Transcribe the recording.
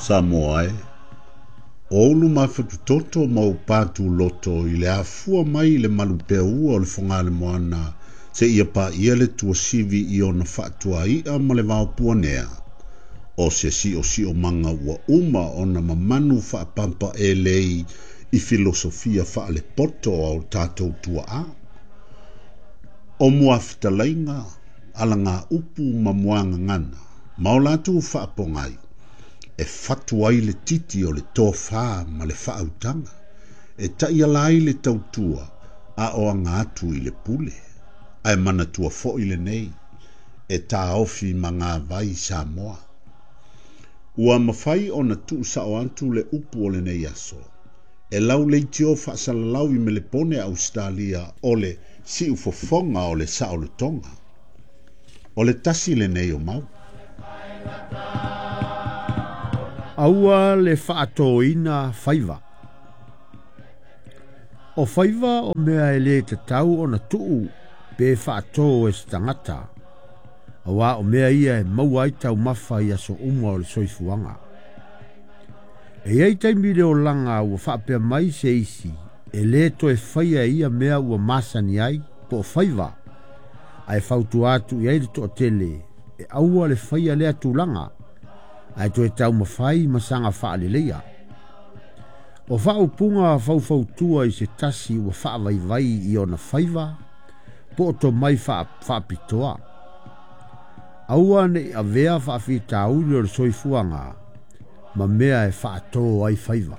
Samoa e, o ou luma fatutoto ma ou patuloto i le afua mai i le malupeaua o le Fogalemoana seia paia le tuasivi i ona faatuai'a ma le vaopuanea, o se siosiomaga ua uma ona mamanu faapampaelei i filosofia faalepoto a o tatou tuaa. O muafetalaiga, alagaupu ma muagagana, ma o latou faapogai, e fatu ai le titi o le tofā ma le faautaga, e taiala ai le tautua a o aga atu i le pule. Ae manatua foi lenei, e taofi magavai Samoa. Ua mafai ona tuusao atu le upu o lenei aso, e lau leitio faasalalau i Melepone Ausetalia o le siufofoga o le saolotoga. O le tasi lenei o mau. Aua le faatōina faiva. O faiva o mea e lē tatau ona tuu pe faatō e se tagata, auā o mea ia e maua ai taumafa i aso uma o le soifuaga. E i ai taimi i le olaga ua faapea mai se isi e lē toe faia ia mea ua masani ai po o faiva, ae fautua atu i ai le toatele e aua le faia lea tulaga, ae toe taumafai ma saga faaleleia. O faaupuga faufautua i se tasi ua faavaivai i ona faiva po o tomai faapitoa. Aua ne i avea faafitauli o le soifuaga ma mea e faatō ai faiva.